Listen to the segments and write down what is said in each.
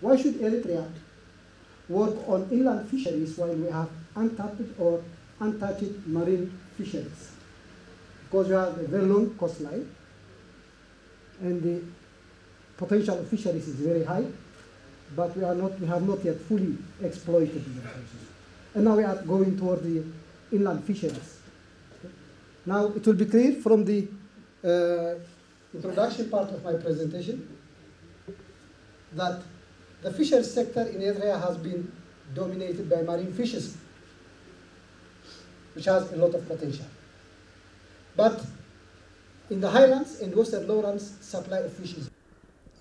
Why should Eritrea work on inland fisheries while we have untapped or untouched marine fisheries? Because we have a very long coastline and the potential of fisheries is very high, but we are not, we have not yet fully exploited the resources. And now we are going toward the inland fisheries. Now it will be clear from the uh, introduction part of my presentation that the fisheries sector in Eritrea has been dominated by marine fishes, which has a lot of potential. But in the highlands and western lowlands, supply of fish is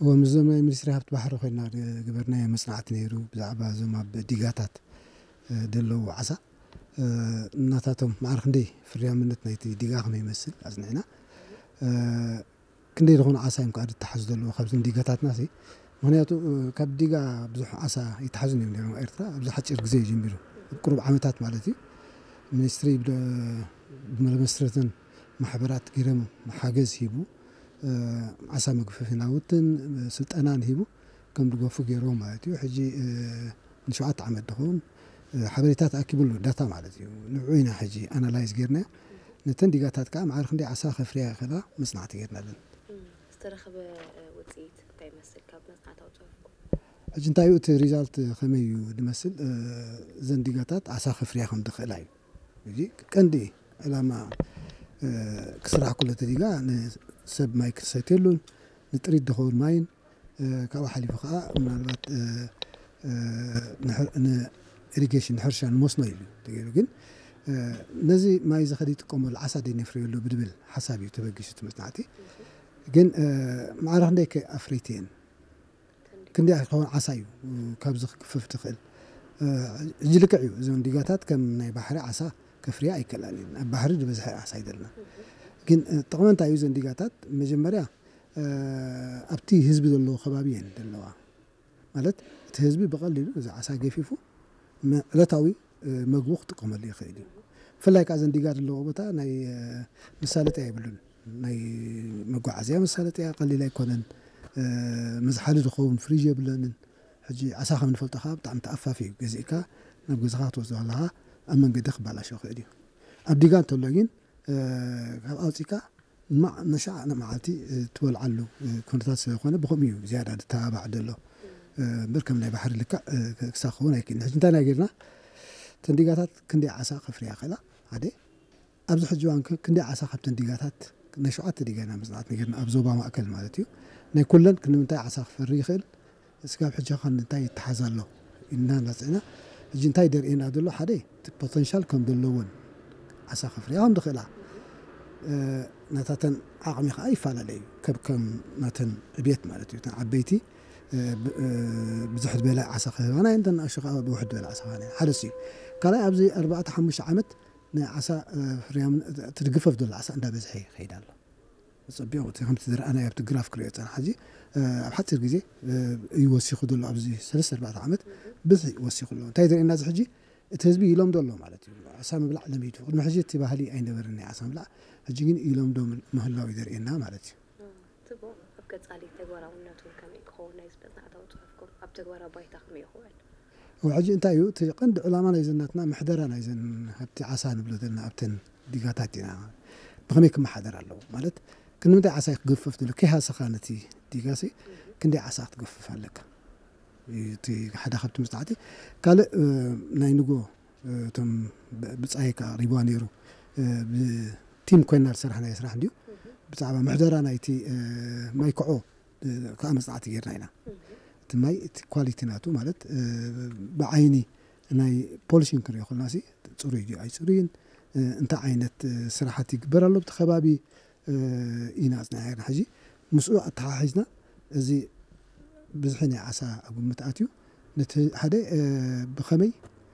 እዎ፣ ምስ ዞም ናይ ሚኒስትሪ ሃብቲ ባሕሪ ኮይና ዝገበርናዮ መጽናዕቲ ነይሩ፣ ብዛዕባ እዞም ኣብ ዲጋታት ዘለዉ ዓሳ ናታቶም ማዕረ ክንደይ ፍርያምነት ናይቲ ዲጋ ከመይ ይመስል ኣጽኒዕና። ክንደይ ዝኾኑ ዓሳ እዮም ከዓ ዝተሓዙ ዘለዉ ካብዚ ዲጋታትና ሲ? ምክንያቱ ካብ ዲጋ ብዙሕ ዓሳ ይተሓዙ እዮም ነይሮም ኤርትራ ኣብዚ ሓፂር ግዜ ጀሚሩ፣ ቁሩብ ዓመታት ማለት እዩ። ሚኒስትሪ ብመመስረትን ማሕበራት ገይሮም ሓገዝ ሂቡ፣ ዓሳ መግፈፊ ናውትን ስልጠናን ሂቡ ከም ድገፉ ገይርዎ ማለት እዩ። ሕጂ ንሸውዓተ ዓመት ድኸውን ሓበሬታ ተኣኪቡሉ፣ ዳታ ማለት እዩ። ንዑ ኢና ሕጂ ኣናላይዝ ጌርናዮ። ነተን ዲጋታት ከዓ ማዕረ ክንደይ ዓሳ ከፍርያ ይኽእላ መፅናዕቲ ጌርናለን። ዝተረኸበ ውፅኢት እንታይ ይመስል ካብ መፅናዕታዊ ፅሑፍኩም? ሕጂ እንታይ እዩ እቲ ሪዛልት፣ ከመይ እዩ ዝመስል? እዘን ዲጋታት ዓሳ ከፍርያ ከም ዝኽእላ እዩ። እዚ ቀንዲ ዕላማ ክስራሕ ከሎ እቲ ዲጋ ንሰብ ማይ ክሰትየሉን ንጥሪት ዝኸውን ማይን ካብኡ ሓሊፉ ከዓ ምናልባት ንኢሪጌሽን፣ ንሕርሻ፣ ንመስኖ ኢሉ ተገይሩ። ግን ነዚ ማይ እዚ ከደ ይጥቀመሉ፣ ዓሳ ደይ ነፍርየሉ ብድብል ሓሳብ እዩ ተበጊሱ እቲ መፅናዕቲ። ግን ማዕረ ክንደይ ከ ኣፍረይቲ እየን? ክንደይ ክኸውን ዓሳ እዩ ካብዚ ክግፈፍ ትኽእል? ሕጂ ልክዕ እዩ፣ እዞም ዲጋታት ከም ናይ ባሕሪ ዓሳ ከፍርያ ኣይከላን እየን። ኣብ ባሕሪ ዝበዝሐ ዓሳ ይደልና። ግን ጥቕሚ እንታይ እዩ? እዘን ዲጋታት መጀመርያ ኣብቲ ህዝቢ ዘለዎ ከባቢ እየን ዘለዋ። ማለት እቲ ህዝቢ ብቐሊሉ እዚ ዓሳ ገፊፉ ዕለታዊ መግቡ ክጥቀመሉ ይኽእል እዩ። ብፍላይ ከዓ እዘን ዲጋ ዘለዎ ቦታ ናይ መሳለጥያ የብሉን። ናይ መጓዓዝያ መሳለጥያ ቀሊል ኣይኮነን። መዝሓሊ ዝኸውን ፍሪጅ የብለንን። ሕጂ ዓሳ ከም ንፈልጦ ከዓ ብጣዕሚ ተኣፋፊ እዩ። ገዚእካ ናብ ገዛኻ ክትወስዶ ከለኻ ኣብ መንገዲ ክባላሾ ይኽእል እዩ። ኣብ ዲጋ እንተሎ ግን ካብ ኣውፂእካ ነሻዕ መዓልቲ ትበልዓሉ ኩነታት ስለዝኾነ ብኸምኡ እዩ ዝያዳ ዝተባባዕ ዘሎ። እምበር ከም ናይ ባሕሪ ልክዕ ክሳብ ክኸውን ኣይክእልን። ሕጂ እንታይ ናይ ጌርና፣ እተን ዲጋታት ክንደይ ዓሳ ከፍርያ ይኽእላ? ሓደ ኣብዚ ሕጂ እዋን ክንደይ ዓሳ ካብተን ዲጋታት፣ ናይ ሸውዓተ ዲጋ ኢና መፅናዕቲ ጌርና ኣብ ዞባ ማእከል ማለት እዩ። ናይ ኩለን ክንምንታይ ዓሳ ክፈሪ ይኽእል? ስጋብ ሕጂ ኸ እንታይ ይተሓዝ ኣሎ ኢልና እናፅዕና፣ ሕጂ እንታይ ደርእየና ዘሎ? ሓደ እቲ ፖተንሻል ከም ዘለዎን ዓሳ ከፍርያ ከም ዝኽእላ ናታተን ዓቕሚ ከዓ ይፈላለ እዩ። ከብ ከም ናተን ዕብየት ማለት እዩ። እተን ዓበይቲ ብዙሕ ዝበለ ዓሳ ክህባና እየን፣ እተን ንኣሽቱ ከዓ ብውሕድ ዝበለ ዓሳ ክህባና እየን። ሓደ እሱ እዩ። ካልኣይ ኣብዚ ኣርባዕተ ሓሙሽተ ዓመት ናይ ዓሳ ፍርያም ትድግፈፍ ዘሎ ዓሳ እንዳበዝሐ ይኸይድ ኣሎ። ጸቢቑ እቲ ከምቲ ዝረኣናዮ ኣብቲ ግራፍ ክሪኦ ጸና ሕጂ ኣብ ሓጺር ግዜ እዩ ወሲኹ ዘሎ። ኣብዚ ሰለስተ ኣርባዕተ ዓመት ብዝሒ ወሲኹ ኣሎ። እንታይ ዘርእየና እዚ ሕጂ? እቲ ህዝቢ ይለምዶ ኣሎ ማለት እዩ። ዓሳ ምብላዕ ለሚዱ። ቅድሚ ሕጂ እቲ ባህሊ ኣይነበረን ናይ ዓሳ ምብላዕ፣ ሕጂ ግን ይለምዶ ምህላው እዩ ዘርእየና ማለት እዩ። ጽቡቕ። ኣብ ቀጻሊ ተግባራውነቱ ከመይ ክኸውን ናይዚ መጽናዕታዊ ጽሑፍኩም ኣብ ተግባራዊ ባይታ ከመይ ይኽውዕል? ሕጂ እንታይ እዩ እቲ ቀንዲ ዕላማ ናይዘን ናትና ምሕደራ ናይዘን ሃብቲ ዓሳ ንብሎ ዘለና ኣብተን ዲጋታት ኢና ብኸመይ ክመሓደር ኣለዎ ማለት ክንምንታይ ዓሳ ክገፍፍ ዘሎ ከይሃሰኻ ነቲ ዲጋሲ ክንደይ ዓሳ ክትገፍፍ ኣለካ እቲ ሓደ ካብቲ መፅናዕቲ ካልእ ናይ ንጎ እቶም ብፃይ ከዓ ሪብዋ ነይሩ ብቲም ኮይና ዝሰራሕናዮ ስራሕ እንድዩ ብዛዕባ ምሕደራ ናይቲ ማይ ክዖ ከዓ መፅናዕቲ ጌርና ኢና እቲ ማይ እቲ ኳሊቲ ናቱ ማለት ብዓይኒ ናይ ፖሊሽን ክንሪኦ ከለና ሲ ፅሩይ ድዩ ኣይፅሩይን እንታይ ዓይነት ስራሓት ይግበር ኣሎ ብቲ ከባቢ ኢና ኣፅኒዕና ጌርና ሕጂ ምስኡ ኣተሓሒዝና እዚ ብዝሒ ናይ ዓሳ ኣብ ግምት ኣትዩ ነቲ ሓደ ብኸመይ